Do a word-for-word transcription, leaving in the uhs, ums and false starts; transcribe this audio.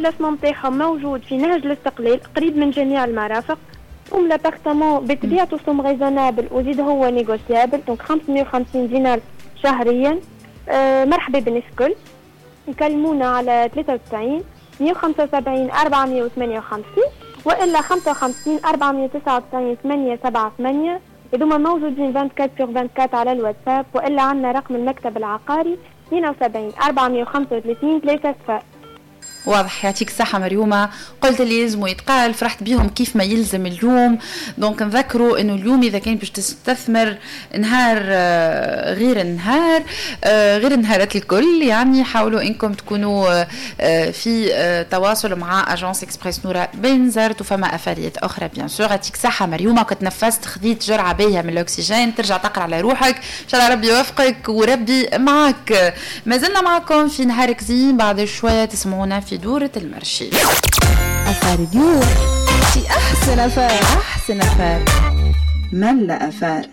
l'emplacement نتاعهم موجود في نهج الاستقلال، قريب من جميع المرافق. سوم l'appartement بطبيعته سوم raisonnable، وزيد هو négociable، donc خمسمية وخمسين دينار شهريا. آه مرحبا بالناس الكل، يكلمونا على ثلاثة وتسعين مية وخمسة وسبعين أربعمية وثمانية وخمسين والا خمسة وخمسين أربعمية وتسعة وتسعين ثمانية سبعة ثمانية. هذوما موجودين أربعة وعشرين sur أربعة وعشرين على الواتساب، والا عندنا رقم المكتب العقاري اثنين وسبعين أربعمية وخمسة وثلاثين ثلاثة صفر. واضح، يعطيك الصحة مريومة، قلت اللي يلزم يتقال، فرحت بيهم كيف ما يلزم اليوم. donc نذكروا انه اليوم اذا كان باش تستثمر نهار آه، غير النهار آه، غير النهارات الكل، يعني حاولوا انكم تكونوا آه، في تواصل مع agence Express نورا بنزرت، وفما افاريات اخرى bien sûr. يعطيك الصحة مريومة، كنت نفست، خذيت جرعة باهية من الاكسجين، ترجع تقرا على روحك. ان شاء الله ربي يوفقك وربي معك. ما زلنا معكم في نهارك زين، بعد شوية تسمعونا في دورة ال marché. affaire اليوم في أحسن affaire، أحسن affaire، ملا affaire.